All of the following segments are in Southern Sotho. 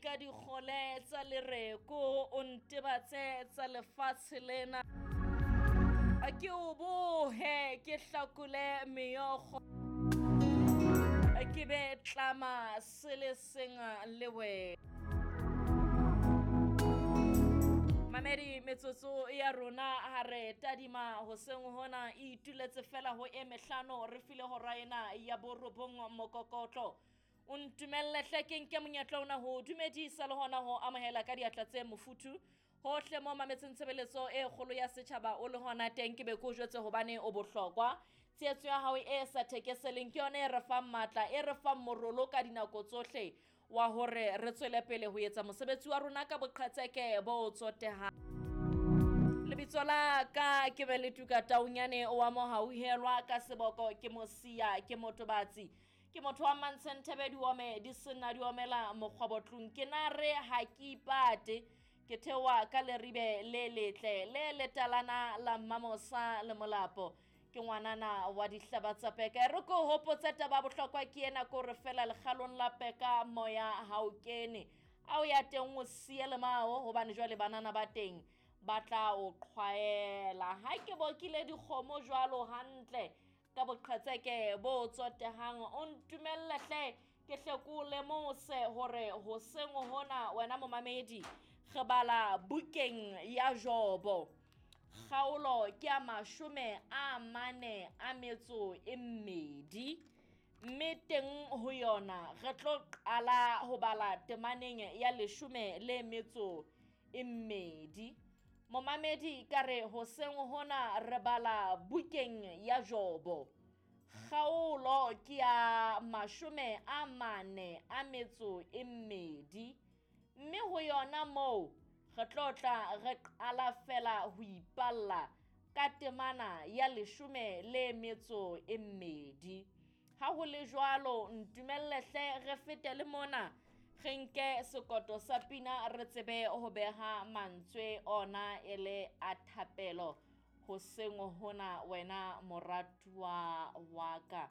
Ka dikgole tsa lereko o ntebatse tsa lefatshe lena. Ke o bohe ke hlakole meokgo, ke be tlama se le seng le wena. Mamedi, metsotso ya rona ha re tadima hoseng hona e ituletse fela ho e mehlano, re file hora ena ya borobong mokokotlo. O ntumelle hle ke nke monyetla ona ho dumedisa le hona ho amohela ka diatla tse mofuthu hohle mo mametseng tshebeletso e kgolo ya setjhaba o le hona teng. Ke be ke o jwetse hobane o bohlokwa. Tshehetso ya hao e sa thekeseleng ke yona e re fang matla, e re fang morolo ka dinako tsohle wa hore re tswele pele ho etsa mosebetsi wa rona ka boqhetseke bo tsotehang. Lebitso la ka ke be le tuka taunyane wa mohauhelwa ka seboko, ke mosia, ke motobatsi, ke motho wa mantsheng thebe diome di sena di omela mokgwabotlong. Ke na re ha ke ipate, ke theoha ka leribe le letle le letalana la Mmamosa le Molapo. Ke ngwanana wa dihlaba tsa peka. E re ke o hopotse taba ya bohlokwa ke ena, ke hore fela lekgalong la peka moya ha o kene. Ha o ya teng o siye lemao, hobane jwale banana ba teng ba tla o qhwaela. Ha ke bokile dikgomo jwalo hantle ka boqhetseke bo tsotehang, o ntumelle hle ke hle ke o lemose hore hoseng hona wena momamedi re bala bukeng ya Jobo. Kgaolo ke ya 42, mme teng ho yona re tlo qala ho bala temaneng ya 12. Momamedi, ka re hoseng hona re bala bukeng ya Jobo. Kgaolo ke ya 42, mme ho yona moo re tlo tla re qala fela ho ipalla ka temana ya 12. Ha ho le jwalo, ntumelle hle re fete le mona, re nke sekoto sa pina re tsebe ho beha mantswe ona e le a thapelo hoseng hona wena moratuwa wa ka,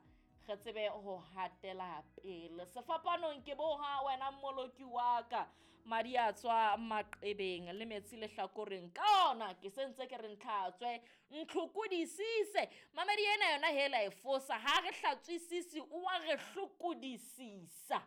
re tsebe ho hatela pele. Sefapanong ke boha wena mmoloki wa ka, madi a tswa maqebeng le metsi lehlakoreng, ka ona ke sentse ke re ntlhatswe ntlhokodisise. Mamedi ena yona hela e fosa, ha re hlatswisise o wa re hlokodisisa.